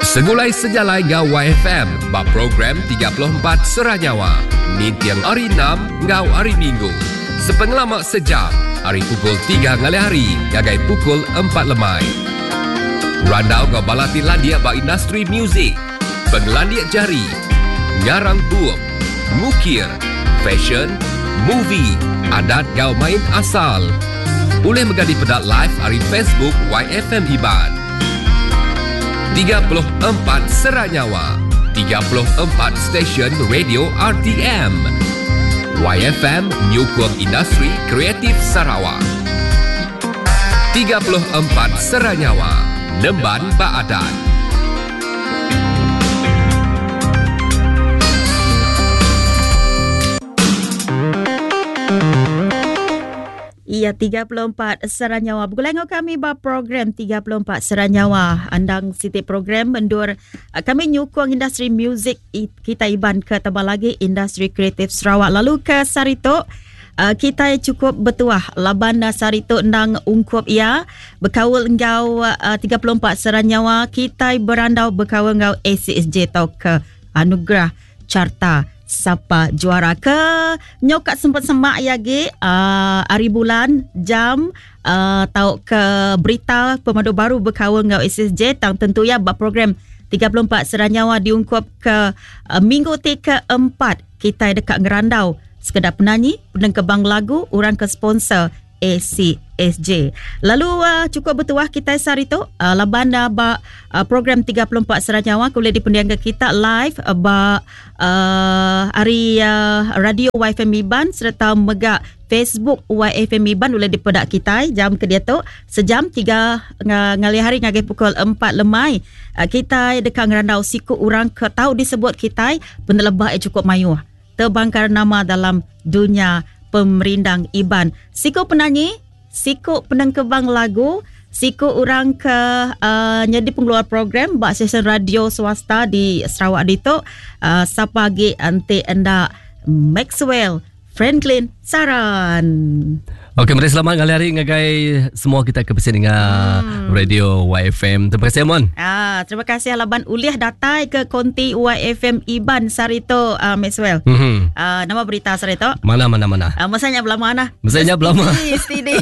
Segulai sejalai enggau YFM ba program 34 Sera Nyawa ninting hari Enam enggau hari Minggu sepengelama sejam ari pukul tiga ngalih hari ngagai pukul empat lemai. Randau enggau bala ti landik ba industri muzik, pengelandik jari, ngarang bup, ngukir, fashion, movie, adat enggau main asal. Ulih mega dipeda live ari Facebook YFM Iban. 34 Sera Nyawa, 34 stesen radio RTM. YFM nyukung industri kreatif Sarawak. 34 Sera Nyawa, nemban ba adat. Iya 34 Sera Nyawa. Begulai enggau kami ba program 34 Sera Nyawa. Andang siti program endur eh, kami nyukung industri muzik kita Iban ke tebal lagi industri kreatif Sarawak. Lalu ke sehari tu eh, kita cukup betuah laban sehari tu endang ungkup iya bekaul enggau 34 eh, Sera Nyawa kita berandau bekaul enggau ACSJ tau ke Anugerah Carta Sapa Juara ke nyau ka sempat semak iya agi uh, hari bulan jam uh, tau ke berita pemadu baru bekaul enggau SSJ tang tentu iya ba program 34 Seranyawa diungkup ke uh, minggu ti keempat kitai deka ngerandau sekeda penanyi penengkebang lagu orang ke sponsor ACSJ. Lalu uh, cukup bertuah kita sehari tu uh, laban uh, ba uh, program 34 Seranyawa boleh dipendiang ke kita live uh, ba uh, hari uh, radio YFM Iban serta mega Facebook YFM Iban boleh dipedak kita jam ke dia tu sejam 3 ngalih hari ngagai pukul 4 lemai uh, kita deka ngerandau siku orang ke tahu disebut kita penelebah cukup mayuh Tebangkar nama dalam dunya pemerindang Iban. Siku penanyi, siku penengkebang lagu, siku orang ke uh, nyadi pengeluar program ba stesen radio swasta di Sarawak ditu. Uh, sapa agi enti enda Maxwell Franklin Saran. Okey, meri selamat ngalih hari ngagai semua kita ke bisi ninga hmm. radio YFM. Terima kasih Amon. Ah, terima kasih laban ulih datai ke konti YFM Iban sehari tu uh, Maxwell. Mm-hmm. Uh, nama berita sehari tu? Mana mana mana. Uh, masa nya belama nah. Masa nya belama. Steady.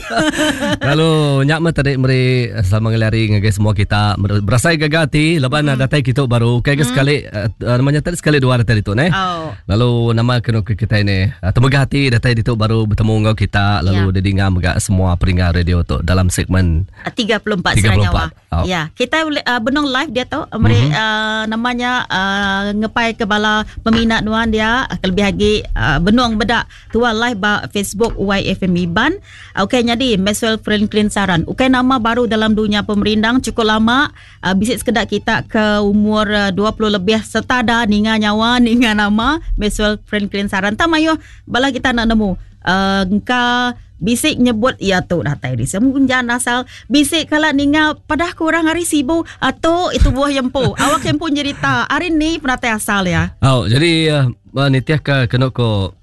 Lalu nyak meh tadi meri selamat ngalih hari ngagai semua kita. Berasai gaga ati laban hmm. datai kita baru. Okey hmm. sekali uh, namanya tadi sekali dua datai ditu neh. Oh. Lalu nama kenu ke kitai ni temegah ati datai ditu baru betemu enggau kita lalu yeah. didinga mega semua peringga radio tu dalam segmen 34 34. Nyawa. Oh. Ya, kita uh, benung live dia tu meri mm-hmm. uh, namanya uh, ngepai ke bala peminat nuan dia kelebih lagi uh, benung bedak tua live ba Facebook YFM Iban. Okey nyadi Maxwell Franklin Saran. Ukai nama baru dalam dunia pemerindang cukup lama Uh, bisi sekeda kita ke umur uh, 20 lebih serta dah ninga nyawa ninga nama Maxwell Franklin Saran tak mayuh bala kita nak nemu uh, engka bisi nyebut ia tu datai di Semunjan asal bisi kala ninga padah kurang hari Sibu atau itu buah yempu awak yempu nyerita hari ni penatai asal ya. Oh jadi uh, nitih ke kena ko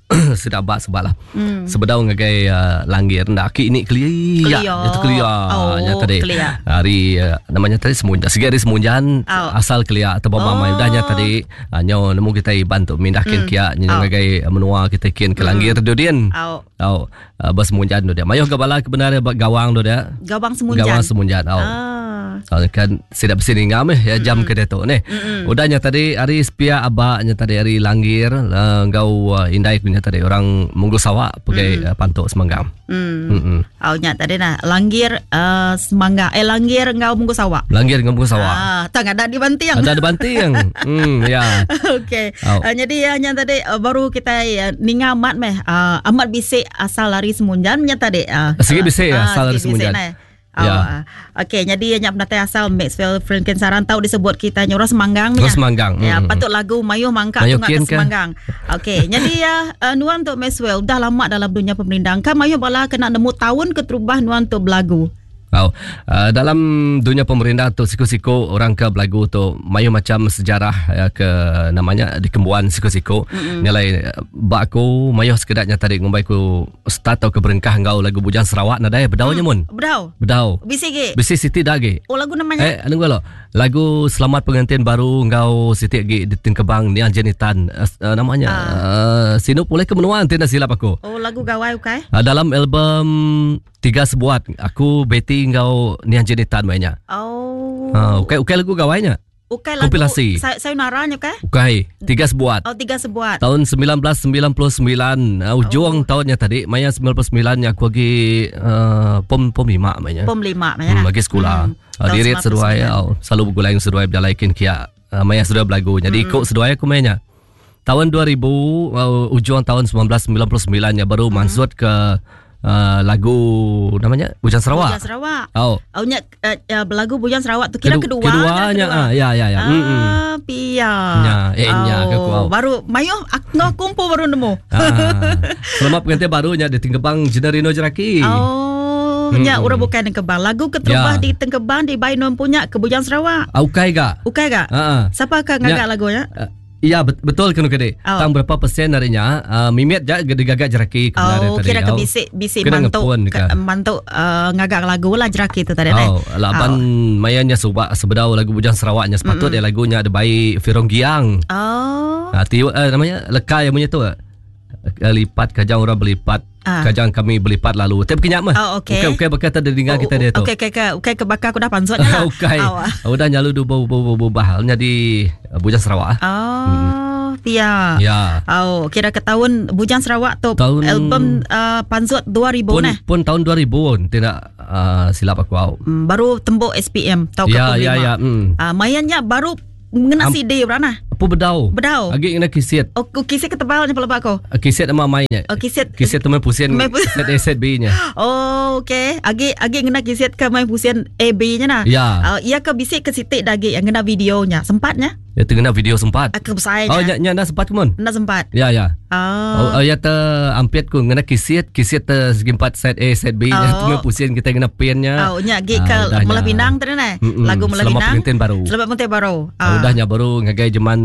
sida ba sebab lah. Mm. Sebedau ngagai uh, langgir nda aki ini kelia. Kelia. Itu kelia. Oh, nya tadi. Kelia. Hari uh, namanya tadi Semunjan. Segi hari Semunjan oh. asal kelia atau oh. mamai udah nya tadi uh, nyo nemu kita iban tu mindah kin mm. kia nyo oh. ngagai menua kita kin ke langgir mm. dudin. Oh. Oh, uh, ba Semunjan tu dia. Mayuh ke bala kebenar ba gawang tu dia. Gawang Semunjan. Gawang Semunjan. Oh. Ah. Oh, kan sida besi ni ngam eh ya jam mm-hmm. ke diatu ni. Mm-hmm. Udah nya tadi hari sepia aba nya tadi hari Langgir uh, enggau uh, indai ku nya tadi orang Munggu Sawa pegai mm. uh, pantuk Semanggang. Mm. Mm-hmm. Oh nya tadi nah Langgir uh, Semangga eh Langgir enggau Munggu Sawa. Langgir enggau Munggu Sawa. Ah, tang ada di Banting. Ada di Banting. hmm ya. Okey. Oh. Uh, jadi uh, nya tadi uh, baru kita uh, ninga amat meh uh, amat bisik asal ari Semunjan nya tadi. Uh, Sigi bisik uh, asal ari sigi bisik, Semunjan. Nah. Oh, Ya. yeah. Okey, jadi nya penatai asal Maxwell Franklin Saran tau disebut kita nya orang Semanggang Orang Semanggang. Ya, Mm. patut lagu mayuh mangka Mayuh tunga ke kin ke? Semanggang. Okey, jadi ya uh, nuan tu Maxwell dah lama dalam dunia pemerindang. Kan mayuh bala kena nemu tahun keterubah nuan tu belagu. Oh, uh, dalam dunia pemerintah tu siku-siku orang ke belagu tu mayuh macam sejarah ya, ke namanya dikembuan siku-siku. Mm-hmm. Nyalai ba aku mayuh sekedaknya tadi ngumbai ku start atau ke berengkah enggau lagu Bujang Sarawak nadai bedau nya mun. Bedau. Bedau. Bisi ge. Bisi siti dah ge. Oh lagu namanya Eh, anu gua lo. Lagu Selamat Pengantin Baru enggau siti agi ditengkebang Niang Jenny Tan. Uh, namanya uh. Uh, Sinu Pulai ke Menua enti enda silap aku. Oh lagu gawai ukai? Uh, dalam album Tiga Sebuat aku Betty enggau Niang Jenny Tan mai nya. Oh. Uh, ukai ukai lagu gawai nya. Ukai lagu Kompilasi. Sayonara nya ukai? Ukai, Tiga Sebuat. Oh Tiga Sebuat. Tahun 1999 uh, ujung oh. tahunnya tadi maya 99 nya aku agi uh, pom pom 5 maya. Pom 5 maya. Hmm, lagi sekolah. Hmm. Uh, dirit seduai uh, selalu begulai dengan seduai berjalai kin kia. Uh, maya seduai belagu. Jadi ikut seduai aku maya nya. Tahun 2000 uh, ujung tahun 1999 nya baru hmm. mansut ke uh, lagu namanya Bujang Sarawak. Bujang Sarawak. Oh. Oh nya uh, uh, belagu Bujang Sarawak tu kira kedua. Keduanya ah ya ya ya. Ah, mm pia. Nya eh nya ke ku. Oh, baru mayuh aku ngau kumpul baru nemu. Ah. Selamat pengantin baru nya di Tengkebang Jenerino Jeraki. Oh, nya hmm. orang bukan Tengkebang. Lagu keterubah ya. di Tengkebang di Bai Non punya ke Bujang Sarawak. Ah, ukai ga. Ukai ga? Ha. Siapa ke ngagak lagunya? Uh, Ya betul kenu kedi. Oh. Tang berapa persen ari nya uh, mimit ja digaga jeraki ke oh, tadi. Kira ke bisi bisi mantu ke, mantu uh, ngaga lagu lah jeraki tu tadi. Oh, laban oh. maya nya suba sebedau lagu Bujang Sarawak nya sepatut mm-hmm. lagu nya dibai Firong Giang. Oh. Uh, tiu, uh, namanya leka yang munyi tu. Lipat kajang orang belipat. Ah. Kajang kami belipat lalu. Tapi kenyak mah. Oh, okey. Ukai ukai baka tadi dengar oh, kita dia tu. Okey okey okey ukai ke baka aku dah pansut nya lah. Ukai. Oh. Udah nyalu du bau bau bau bah nyadi eh, Bujang Sarawak. Oh, hmm. pia. Ya. Oh, kira ke tahun Bujang Sarawak tu tahun, album uh, pansut 2000 pun, nah. Pun tahun 2000 tidak uh, silap aku au. Hmm, baru tembok SPM tahun ya, ya, ya. Hmm. Uh, mayanya baru Ngena um, CD berana? Apa bedau? Bedau. Agi ngena kisit. Oh, kisit ke tebal nya pelaba aku. Kisit nama mai nya. Oh, kisit. Kisit tu main pusin. Main pusin. Set A set B nya. Oh, okey. Agi agi ngena kisit ke main pusin A B nya nah. Ya. Ia ke bisi ke sitik dagi yang ngena video nya. Sempat nya? Ya tu ngena video sempat. Aku besai nya. Oh, nya nya dah sempat ke mun? Enda sempat. Ya, ya. Oh. Oh, ya te ampit ku ngena kisit, kisit te segi empat set A set B nya. Oh. Tu main pusin kita ngena pin nya. Oh, nya agi ke ah, Melah Pinang tadi nah. Lagu Melah Selamat Pinang. Pengantin Baru. Selamat Pengantin Baru. Ah. Udah nya baru ngagai jeman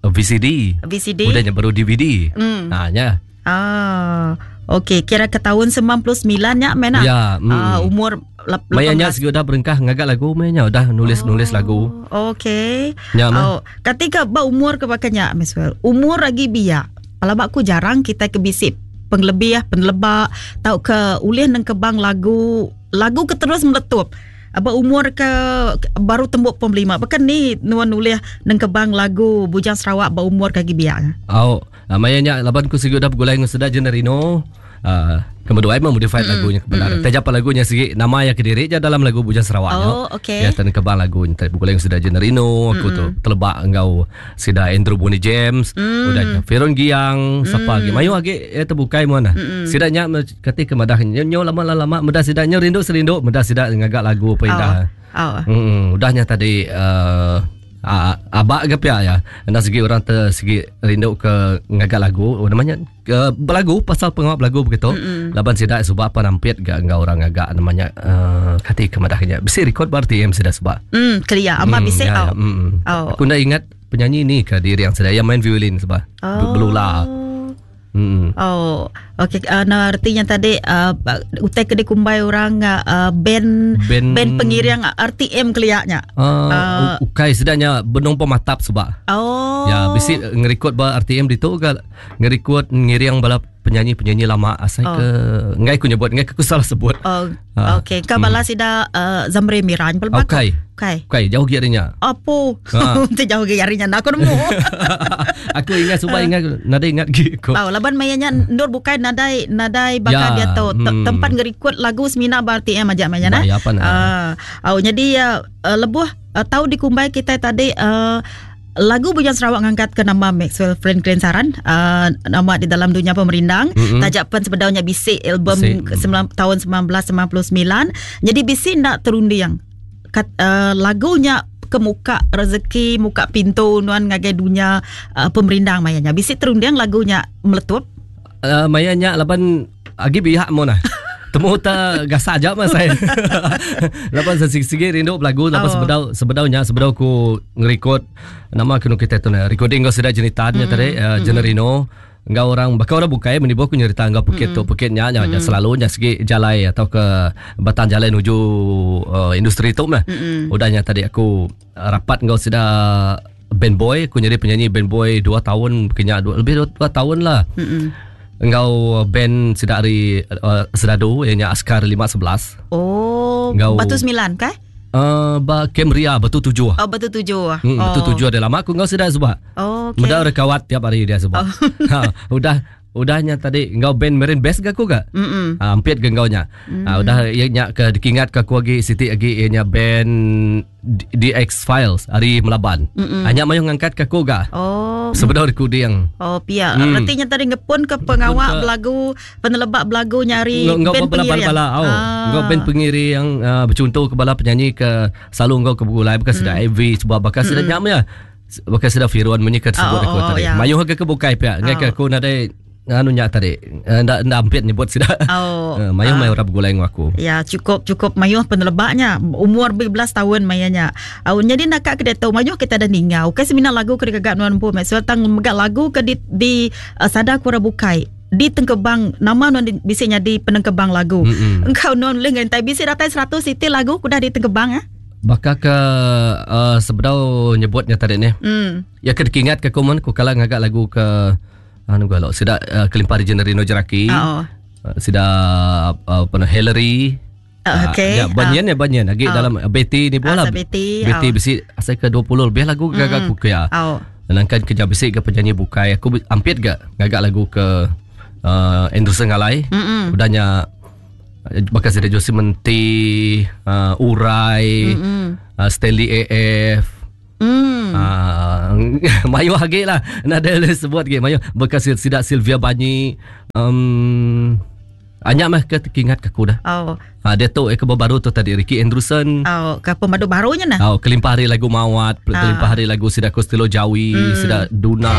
VCD. VCD. Udah nya baru DVD. Mm. Ha nya. Ah. Okey, kira ke tahun 99 nya mena. Ya, mm. Ah, umur Maya nya sigi udah berengkah ngaga lagu maya nya udah nulis-nulis oh, lagu. Okey. Nya mah. Oh, ketika ba umur ke baka nya Maxwell. Umur lagi biak. Pelaba aku jarang kita ke bisi pengelebih, peneleba tauka ulih nengkebang lagu lagu ke terus meletup. Ba umur ke baru tembuk pom lima. Baka ni nuan ulih nengkebang lagu Bujang Sarawak ba umur ke agi biak nya. Au, maya nya laban ku sigi udah begulai enggau sida Jenerino. Uh, kemeduai mah modified mm. lagu nya kebenar. Mm. Taja pa lagu nya sigi nama iya kediri ja dalam lagu Bujang Sarawak nya. Oh, okey. Ya tenekebang lagu nya begulai enggau sida Jenerino, aku tu teleba enggau sida Andrew Bonnie James, mm. udah nya Feron Giang, mm. sapa agi mayuh agi ya tebukai mun. Mm. Sida nya kati ke madah nya nyo lama lama meda sida nya rindu serindu meda sida ngaga lagu apa indah. Oh. Oh. Hmm, udah nya tadi uh, abak ke pia ya. Enda segi orang te segi rindu ke ngaga lagu, oh, namanya ke belagu pasal pengawa belagu begitu. Mm-mm. Laban sida suba apa nampit ga enggau orang ngaga namanya uh, kati ke madah nya. Bisi record ba RTM sida suba. Kelia ama bisi ya, au. ya, mm. Au. Aku nda ingat penyanyi ni ke diri yang sida yang main violin suba. Oh. Belula. Hmm. Oh, okey. Nah, artinya tadi utai ke dikumbai orang uh, band, Band- band pengiring RTM keliaknya. Ukai sedanya benung pematap suba. Oh. Ya, bisi ngerekod ba RTM ditu ke ngerekod ngiring bala penyanyi-penyanyi lama asai Oh. ke ngai ku nyebut ngai ku salah sebut. Oh, Ah. okey. Ka bala sida Zamri Miran pelbak. Ukai. Ukai. Ukai jauh gi arinya. Apo? Ah. Te jauh gi arinya nak aku nemu. aku ingat suba ingat nadai ingat gi ko. Oh, laban mayanya ndur bukai nadai nadai bakal Ya, dia tu hmm. tempat ngerekod lagu semina ba RTM aja mayanya nah. Bah, ya apa nah. Ah, oh, jadi lebuh tau dikumbai kita tadi lagu Bujang Sarawak ngangkat ke nama Maxwell Franklin Saran nama di dalam dunia pemerindang. Mm-mm. Tajak pen sebedaunya bisi album Bisi. ke tahun 1999. Jadi bisi nak terunding. Kat, lagunya ke muka rezeki, muka pintu nuan ngagai dunia pemerindang mayanya. Bisi terunding lagunya meletup. Mayanya laban agi biak mo nah. Temu ta gasak aja mah saya. Laban segi-segi rindu belagu laban Oh. sebedau sebedaunya sebedau ku ngerekod nama kenu kita tu nah recording kau sudah jenitannya tadi Jenerino. Enggau orang baka orang bukai menibu aku nyerita enggau pekit tu pekit nya nya mm. selalu nya segi jalai atau ke batang jalai nuju uh, industri tu meh. Mm-hmm. Udah nya tadi aku rapat enggau sida band boy aku jadi penyanyi band boy 2 tahun kenya dua, lebih 2 tahun lah. Mm-hmm. Enggau band sida ari uh, Sedadu ianya Askar 511. Oh, enggau Batu 9 kah? Uh, ba Camria Batu Tujuh. Oh, Batu Tujuh. Hmm, oh. Batu Tujuh ada lama aku enggau sida sebab. Oh, okay. Meda rekawat tiap hari dia sebab. Oh. ha, udah udahnya tadi enggau band Marine Best ke aku ga? Mm Ha, ampit ke enggau nya. Mm. Ha, udah iya nya ke dikingat ke aku agi siti agi iya nya band DX Files ari Melaban. Mm Hanya mayuh ngangkat ke aku ga. Oh. Sebedau recording. Oh, pia. Mm. Reti nya tadi ngepun ke pengawa belagu peneleba belagu nya ari enggau band bala pengiring. bala au. Ah. Enggau band pengiring yang uh, bechunto ke bala penyanyi ke selalu enggau ke begulai baka sida mm. Ivy sebab baka sida mm. nya meh. Baka sida Firwan munyi ke sebut Oh, aku oh, oh, tadi. ya. Mayuh ke ke bukai pia. Ngai ke Oh. aku nadai anu nya tadi. Eh, Enda enda ampit nyebut sida. Oh. Eh, Mayuh mayuh orang begulai enggau aku. Ya cukup cukup mayuh penelebaknya umur belas tahun mayanya. Au nyadi naka ke diatu mayuh kita dah ninga. Ukai semina lagu ke digaga nuan empu Maxwell tang mega lagu ke di, di uh, sada ku orang bukai. Di tengkebang nama nuan di, bisi nyadi penengkebang lagu. Mm-mm. Engkau nuan boleh ngentai bisi datai 100 iti lagu ku dah ditengkebang ah. Baka ke uh, sebedau nyebutnya tadi ni. Hmm. Ya ke dikingat ke aku mun ku kala ngaga lagu ke anu galo sida uh, kelimpah ari Generino Jeraki. Oh. Sida uh, apa nama Hillary. Ah, okey. Ya, banyan ya banyan lagi Ah. dalam Betty ni Ah, bola. sa Betty, Betty ah. bisi asai ke 20 lebih lagu gaga aku ke ya. Oh. Nangkan kerja bisi ke penyanyi bukai aku ampit ga ngaga lagu ke uh, Anderson Ngalai. Mm-mm. Udahnya bakal sida Josie Menti, uh, Urai, uh, Stanley AF. Hmm. Ah, mayuh lagi lah. Nak ada sebut lagi. Mayuh bekas sida Sylvia Banyi. Um, Anyak mah ke terkingat ke aku dah. Oh. Ha, dia tu eh, ke baru tu tadi Ricky Andrewson. Oh, ke pemadu barunya nah. Oh, kelimpah hari lagu Mawat, kelimpah hari lagu Sida Costello Jawi, Sida Duna.